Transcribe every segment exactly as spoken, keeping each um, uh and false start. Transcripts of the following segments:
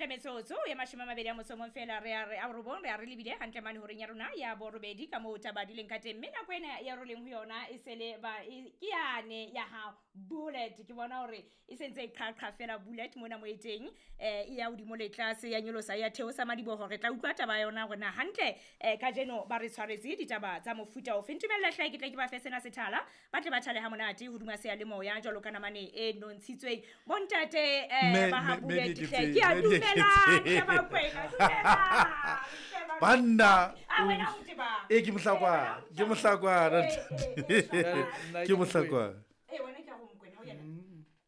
Hantle metsotso ya mashome a mabedi a motso o mong fela re a re a robong re a re lebile hantle mane horeng ya rona ya borobedi ka moo taba di leng ka teng. Mme nako ena ya re leng ho yona e sele ba e, ke yane ya ha bullet ke bona hore e sentse e qhaqha fela bullet mona mo e teng eh e ya hodimo le tlase ya nyolosa ya theosa madiboho. Re tla utlwa taba ya yona hore na hantle eh kajeno ba re tshwaretse ditaba tsa mofuta ofe. Ntumella hle ke tle ke ba fe sena sethala ba tle ba thale ha monate hodima seyalemoya jwalo ka namane e nontshitsweng. Bontate eh Mme- ba ha mme- mme bullet di hle ke ke a tse- mme di ke dumelang tse. hle Bakwena, dumelang hle Banna. Ah, wena o tsebang. Ee, ke Mohlakwana, ke Mohlakwana. Eh, eh, eh, Nna Ke Mohlakwana. Eh, wena ke a ho Mokwena, ho yena.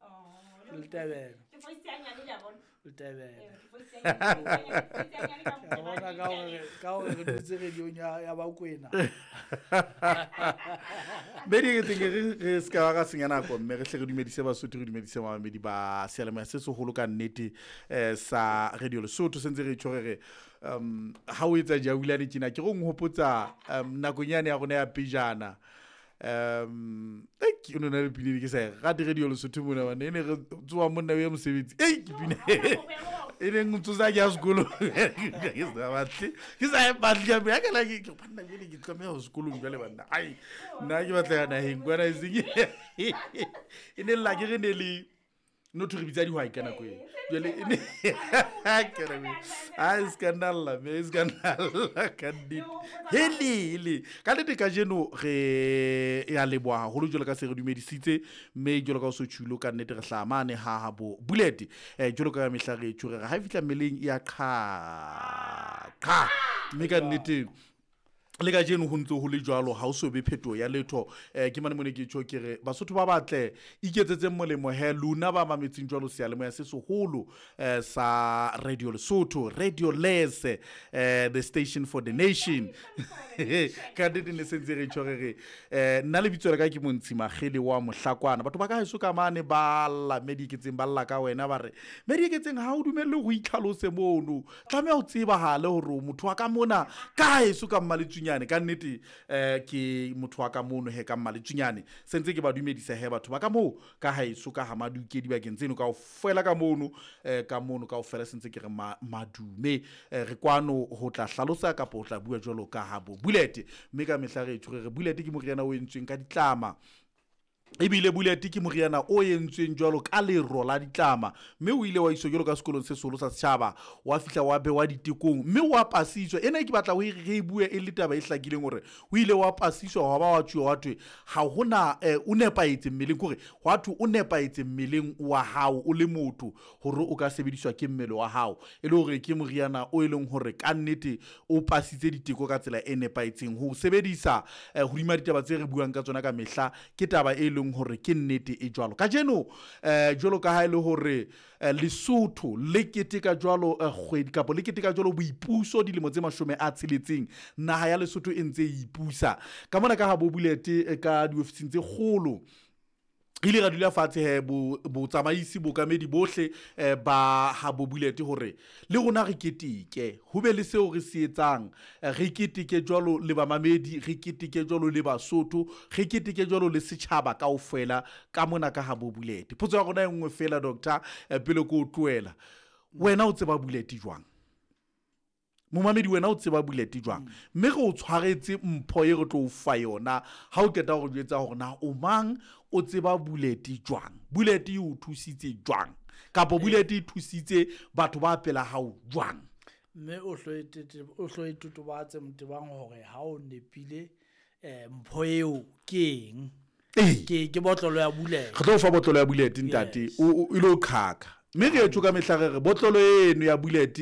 Oh, Letebele. ke voice ya nyane le a bona. Letebele. Eh, ke voice ya nyane, ke voice ya nyane ka Ka bona ka hore ka hore re dutse radiong ya ya Bakwena. Mme di ke re re se ka ba ra senya nako mme re hle re dumedise Basotho, re dumedise bamamedi ba seyalemoya se seholo ka nnete eh sa Radio Lesotho. Se ntse re tjho re re um ha o etsa jaulane tjena ke re o nhopotsa um nakong yane ya rona ya pejana. Um eh ke no na le pina ke sa e rate Radio Lesotho mona bana e ne re tsoha monna o ye mosebetsi. Ei ke pina e neng ntsosa ke ya sekolong. Ke sa batle ke sa e batle ka ya ka la ke ke banna jwale ke tlameha ho sekolong jwale banna. Ai nna ke batla ya naheng kwana e seng e ne lla ke re ne le no thwe re bitsa dihwai ka nako eo. Jwale e ne ke re ai se ka nna lla mme se ka nna lla ka nnete. Hele hele ka nnete kajeno re ya leboha haholo jwalo ka se re dumedisitse mme jwalo ka o so tjhulo ka nnete re hlaha mane ha ha bo bullet eh jwalo ka mehla re tjho re ha e fihla mmeleng e ya qha qha mme ka nnete le kajeno ho ntse ho le jwalo ha o so be phetoho ya letho. Eh ke mane mone ke tjho ke re Basotho ba batle iketsetseng molemo he lona ba mametseng jwalo seyalemoya se seholo eh sa Radio Lesotho, Radio Lese, eh the station for the nation. Ka nnete ne se ntse re tjho re re eh nna lebitso la ka ke Montshi Makgele wa Mohlakwana. Batho ba ka heso ka mane ba lla mme di iketseng ba lla ka wena ba re mme di iketseng ha o dumelle ho itlhalose mono tlameha o tsebahale hore o motho wa ka mona ka heso ka Mmaletsunyane. Ka nnete eh ke motho wa ka mono he ka Mmaletsunyane. Se ntse ke ba dumedisa he batho ba ka moo ka haeso ka ha Maduke dibakeng tseno kaofela ka mono eh ka mono kaofela se ntse ke re ma-, madume. Eh, re kwano ho tla hlalosa kapa ho tla bua jwalo ka ha bo bullet mme ka mehla re tjho re re bullet ke moriana o entsweng ka ditlama. Ebile bullet ke moriana o entsweng jwalo ka lero la ditlama mme o ile wa iswa jwalo ka sekolong se seholo sa setjhaba wa fihla wa bewa ditekong mme wa pasiswa. Ena ke batla ho e re bue e le taba e hlakileng hore o ile wa pasiswa hwa ba wa tjhuwa wa thwe ha hona, eh, o nepahetse mmeleng, kore hwa thwe o nepahetse mmeleng wa hao o le motho hore o ka sebediswa ke mmele wa hao e le hore ke moriana o e leng hore ka nnete o pasitse diteko ka tsela e nepahetseng. Ho sebedisa, eh, hodima ditaba tse re buang ka tsona ka mehla ke taba e leng hore ke nnete e jwalo. Kajeno, eh, jwalo ka ha e le hore, eh, Lesotho le keteka jwalo, eh, kgwedi kapa le keteka jwalo boipuso dilemo tse mashome a tsheletseng, naha ya Lesotho e ntse e ipusa. Ka mona ka ha bo bullet, eh, ka diofising tse kgolo re ile ra dula fatshe he bo-, botsamaisi bokamedi bohle, eh, ba ha bo bullet hore le rona re keteke, ho be le seo re se etsang, eh, re keteke jwalo le bamamedi, re keteke jwalo le Basotho, re keteke jwalo le setjhaba kaofela ka mona ka ha bo bullet. Potso ya rona e nngwe fela doctor, eh, pele ke o tlohela, wena o tseba bullet jwang? Momamedi wena o tseba bullet jwang? Mme re o tshwaretse mpho e re tlo o fa yona ha o qeta ho re jwetsa hore na o mang, o tseba bullet jwang, bullet e o thusitse jwang, kapa bullet e thusitse batho ba pela hao jwang. Mme o hlo e tete-, o hlo e totobatse Motebang hore ha o nepile, eh, mpho eo ke eng? Ee. Ke, ke botlolo ya bullet. Re tlo o fa botlolo ya bullet ntate. Yes. O, o, e lo qhaka. Mme re etso ka mehla re re botlolo eno ya bullet,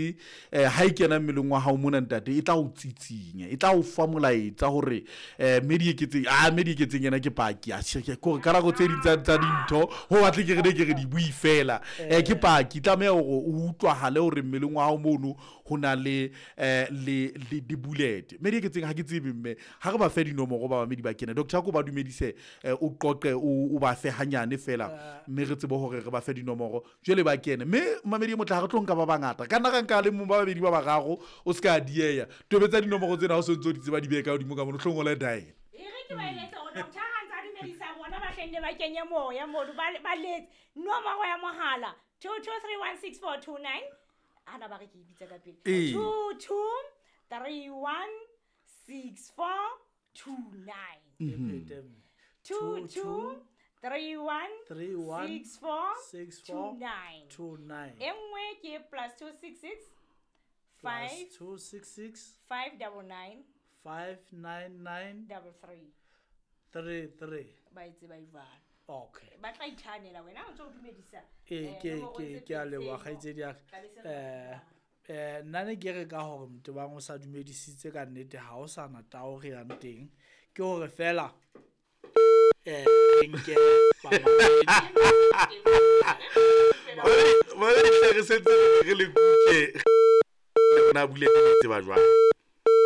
eh, ha e kena mmeleng wa hao mona ntate, e tla o tsitsinya, e tla o fa molaetsa hore, eh, mme di eketseng, ah, mme di eketseng yena ke paki, ah, che, ke kore ka nako tse ding tsa, tsa dintho, ho batle ke re ne ke re di bue fela. Eh, ke paki, tlameha hore o utlwahale hore mmeleng wa hao mono ho na le, eh, le, le di bullet. Mme di eketseng ha ke tsebe mme, ha re ba fe dinomoro ba bamedi ba kene. Doctor, ko ba dumedise, eh, o qoqe, o, o ba fe hanyane fela, Eh. mme re tsebe hore re ba fe dinomoro. Jwale ba kene. Mme mamedi e motle ha re tlo nka ba bangata. Ka nna ra nka le mong ba babedi ba bararo, o se ka dieya. Tobetsa dinomoro tsena ha o so ntso di tseba di behe ka hodimo ka mono, o tlo ngola dial. E re ke ba eletse hore doctor ha ntsa dumedisa bona ba hlenne ba kenye moya mono, ba, ba letse nomoro ya mohala two two three one six four two nine. Ana ba re ke e bitsa ka pele. Ee. Two two three one six four two nine. E phete mme. Two two three one Three one six four six two four nine. two nine. E nngwe ke plus two six six Plus five two six six five double nine five nine nine double three. three three. Ba e tseba e jwalo. Okay. Ba tla ithanela wena o ntso o dumedisa. Ee, eh, ke nomoro ke tse ke a pedi leboha tseno. kgaitsedi ya ka. Tla be se re Eh eh nna ne ke re ka hore Motebang o sa dumedisitse ka nnete ha o sa na tao re yang teng. Ke hore fela eh re nke bamamedi. Ba re hle re sentse re le kuke. Rona bule le tseba jwang.